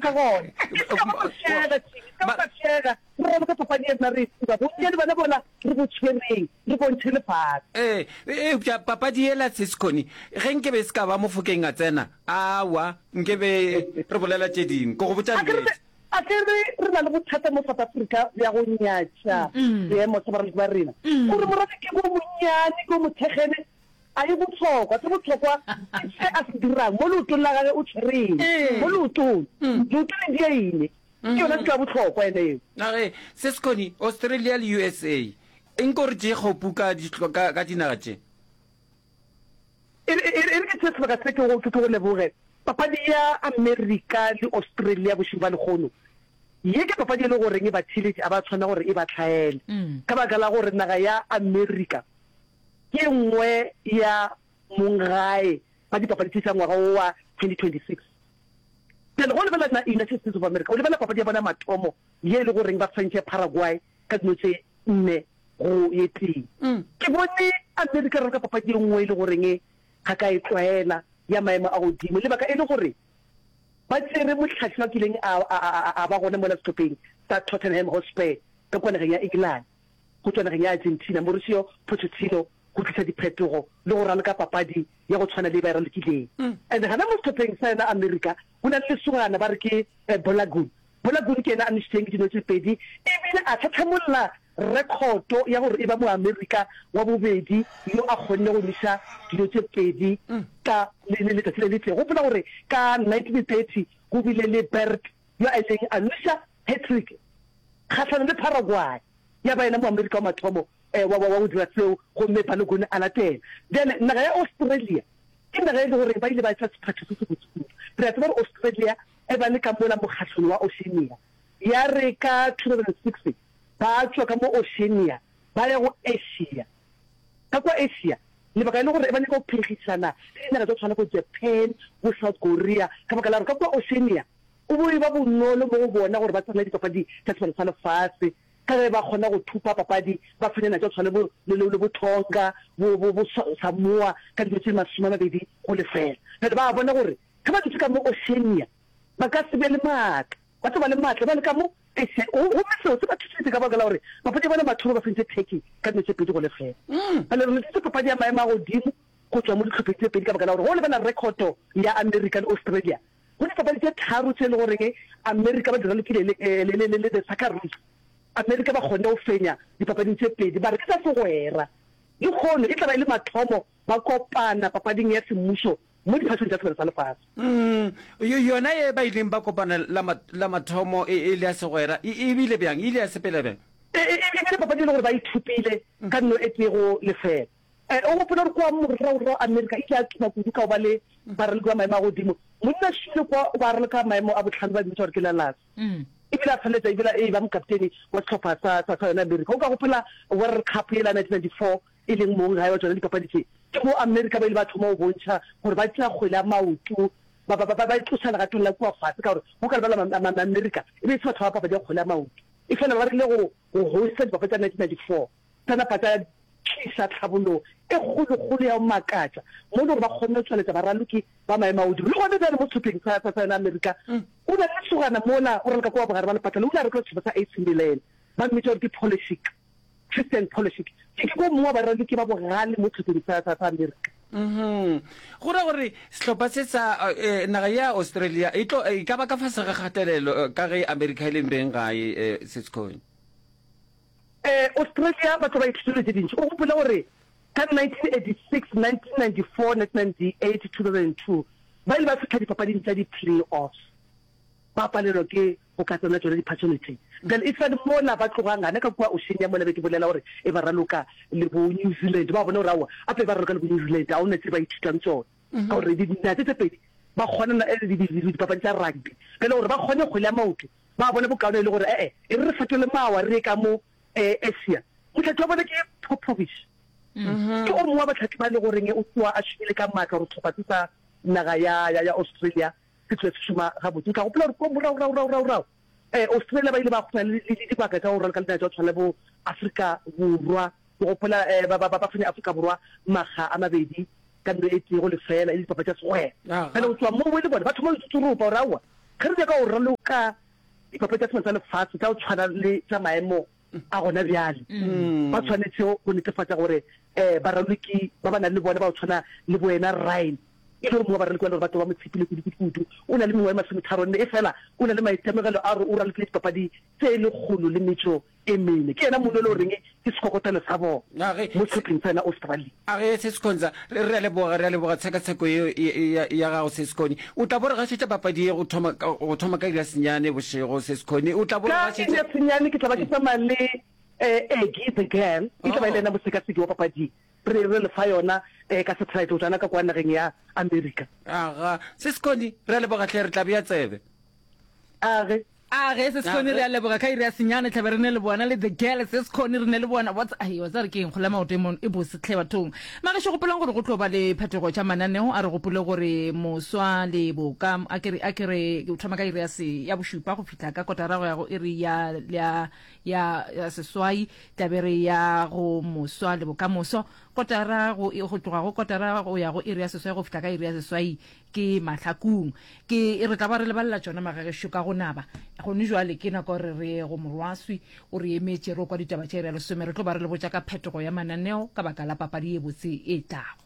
Ka gona. Ka ba go fšega, Tšhidi, ka ba fšega. Re raloka papadi ya rena re e tseba. Bonnyane bana bola re bo tshwereng, re bontšhe lefase. Ee, eupša papadi yela, Seskhoni, ge nke be e se ka ba Mofokeng a tsena, aowa, nke be re bolela tše dingwe. Ke go botša nnete. A ke re re na le bothata mo South Africa bja go nyatša seemo sa baraloki ba rena. Gore moraloki ke o monnyane, ke o mothekgene, a e bohlokwa. Se bohlokwa ke se a se dirang mo leotong la gage, o tshwereng mo leotong. Leoto le dieine. Ke yona ntho ya bohlokwa yena eo. A re, Sesconi, Australia le USA, nko re tšee kgopu ka, ka, ka dinaga tše. E re, e re ke tšee sebaka se ke go, ke go leboge. Papadi ya Amerika le Australia bošego bja lehono, ye ke papadi e le goreng batheeletši a ba tshwanela gore e ba hlaele, ka baka la gore naga ya Amerika ke e nngwe ya monggae ba dipapadi tše tša ngwaga wo wa 2026. Bjale ge o lebelela United States of America, o lebelela papadi ya bona ya mathomo ye e le goreng ba fentše Paraguay ka dino tše nne go ye tee. Ke bone Amerika e raloka papadi ye nngwe e le goreng ga ka e tlwaela ya maemo a godimo, lebaka e le gore ba tšere mohlahli wa kileng a, a, a, a ba gona mola sehlopheng sa Tottenham Hotspur ka kua nageng ya Engelane go tšwa nageng ya Argentina, Mauricio Pochettino, go tliša diphetogo le go raloka papadi ya go tshwana le e ba e ralokileng. And gana mo sehlopheng sa yona Amerika go na le lesogana ba re ke Bolagun. Bolagun ke yena a nwešitšeng dino tše pedi ebile a tlhatlhamolla rekhoto ya gore e ba Moamerika wa bobedi yo a kgonne go nweša dino tše pedi ka letšatši le letee. Gopola gore ka 1930 go bile le Bird yo a ileng a nweša hat-trick kgahlanong le Paraguay, ya ba yena Moamerika wa mathomo wa, wa, wa go dira seo, gomme Balogun a latela. Bjale, naga ya Australia ke naga e le gore ba ile ba etša sephatho se sebotse kudu. Re a tseba gore Australia e ba le ka mola mokgahlong wa Oceania. Ya re ka 2006 ba tšwa ka mo Oceania ba ya go Asia. Ka kua Asia, lebaka e le gore ba nyaka go phenkgišana le dinaga tša go tshwana bo Japan, bo South Korea, ka baka la gore ka kua Oceania go bo e ba bonolo mo go bona gore ba tsenele dipapadi tša Sebjana sa Lefase. Ka ge ba kgona go thopa papadi, ba fenya tša go tshwana le bo, le, le bo Tonga, bo, bo, bo Samoa ka dilo tše 20 go lefela. Bjale ba a bona gore ge ba dutše ka mo Oceania, ba ka se be le maatla. Ba tlo ba le maatla bjale ka mo Asia. Gomme seo se ba thušitše ka baka la gore papadi ya bona mathomo ba fentše Turkey ka dilo tše pedi go lefela. Bjale re letšitše papadi ya maemo a godimo go tšwa mo dihlopheng tše pedi ka baka la gore ge o lebelela rekhoto ya Amerika le Australia, Go dipapadi tše tharo tše e le goreng Amerika ba di ralokile le, le, le, le, le The Socceroos. Amerika ba kgonne go fenya dipapading tše pedi, ba re ke tša segwera. Lehono e tla ba e le mathomo ba kopana papading ya semmušo mo diphašong tša Sebjana sa Lefase. Mm, yona ye ba ileng ba kopana la, la mathomo e, e le ya segwera, e, e bile bjang? E ile ya sepela bjang? E, e, e bile papadi e le gore ba e thopile ka nno e tee go lefela. O gopola gore kua morago-rago Amerika e ile ya tuma kudu ka go ba le baraloki ba maemo a godimo. Monna šole kwa o ba raloka maemo a bohlano ba mmitša gore ke Lalas. Ebile a feleletša ebile e ba mokaptene wa sehlopha sa, sa, sa yona Amerika. O ka gopola World Cup yela ya 1994 e leng mong gae wa tšona dipapadi tše. Ke mo Amerika ba ile ba thoma go bontšha gore ba tšea kgwele ya maoto ba, ba, ba, ba e tloša legatong la kua fase ka gore go ka lebala ma, ma, ma Amerika e be e se batho ba papadi ya kgwele ya maoto. Efela ba rile go, go hosta dipapadi tša 1994 tša napa tša tliša tlhabollo e kgolokgolo ya go makatša mo e le gore ba kgonne go tšweletša baraloki ba maemo a godimo. Le gona bjale mo sehlopheng sa, sa, sa yona Amerika, go na le lesogana mola o raloka kua bogare ba lepatlelo, o ile a rekelwa sehlopha sa AC Milan, ba mmitša gore ke Pulisic, Christian Pulisic. Ke, ke o mongwe wa baraloki ba bogale mo sehlopheng sa, sa, sa Amerika. Mhm. Go ra gore sehlopha se sa eh, naga ya Australia e tlo e ka ba ka fase ga kgatelelo eh, ka ge Amerika e leng beng gae eh, Seskhonye. Australia ba tlo ba ithutile tše dintši. O gopole gore ka 1986, 1994, 1998, 2002 ba ile ba fihla dipapading tša di-play-offs, ba palelwa ke go ka tsena tšona diphatšano tše. Bjale e sa le mola ba tlogang gana ka kua Oceania mola be ke bolela gore e ba raloka le bo New Zealand, ba bona gore aowa ape ba raloka le bo New Zealand ga ona tše ba ithutang tšona ka gore dinaga tše tse pedi ba kgonana dipapadi tša rugby. Bjale gore ba kgone kgwele ya maoto Ba bone bokaone e le gore, E-e, e re re fetole mawa re ye ka mo Asia. Mohlahli wa bona ke Popovich. Ke o mongwe wa bahlahli ba e le goreng o tloga a šomile ka maatla gore sehlopha se sa naga ya, ya, ya Australia se tloge se šoma gabotse. O tla gopola gore ko morago-rago-rago-rago, Australia ba ile ba kgona le, le, le dibaka tša go raloka le naga tša go tshwana le bo Afrika Borwa. Ke gopola ba, ba, ba fenya Afrika Borwa makga a mabedi ka nno e tee go lefeela, e le dipapadi tša segwera. Bjale go tloga moo le bona ba thoma go itsutsoropa gore aowa. Ge re nyaka go raloka dipapadi tša Sefane sa Lefase tša go tshwana le tša maemo a gona bjale, ba tshwanetše go netefatša gore baraloki ba ba nang le bona ba go tshwana le boyena Ryan, e le yo mongwe wa baraloki ba e le gore batho ba mo tshepile kudu-kudu-kudu. O na le mengwaga e masometharonne, efela o na le maitemogelo a gore o ralokile dipapadi tše lekgolo le metšo e mene. Ke yena monna e le goreng ke sekokotelo sa bona mo sehlopheng sa yona Australia. A ge Seskhonza, re, re a leboga, re a leboga tshekatsheko yeo ya, ya gago Seskhoni. O tla bo re gašetša papadi ye go thoma, go thoma ka iri ya senyane bošego Seskhoni. O tla bo re Ka iri gašetša. ya senyane ke tla ba ke tsamaya le Eggie the Girl, e tla ba e le yena mosekaseki wa papadi. Re, re le fa yona ka satellite go tšwa gona ka kwa nageng ya Amerika. Aga, Seskhoni, re a leboga hle, re tla bea tsebe. A ge. A ge se sekhoni re a leboga ka iri ya senyane tlabe re ne le bona le the girl se sekhoni re ne le bona what's ai wa tsare ke eng kgola maoto e mon e bose tlhe bathong magesho gopolang gore go tlo ba le phetogo tša mananeo a re gopole gore moswa le boka a ke re a ke re o thoma ka iri ya se ya bošupa go fihla ka kotara go ya go iri ya ya ya ya seswai tlabe re ya go moswa le bokamoso kotara go go tloga go kotara go ya go iri ya seswai go fihla ka iri ya seswai Ke mahlakung. Ke, re tla ba re lebalela tšona magagešo ka go naba. Gone jwale ke nako gore re ye go Morwaswi, o re emetše, re o kwa ditaba tša iri ya lesome. Re tlo ba re le botša ka phetogo ya mananeo ka baka la papadi ye botse e tlago.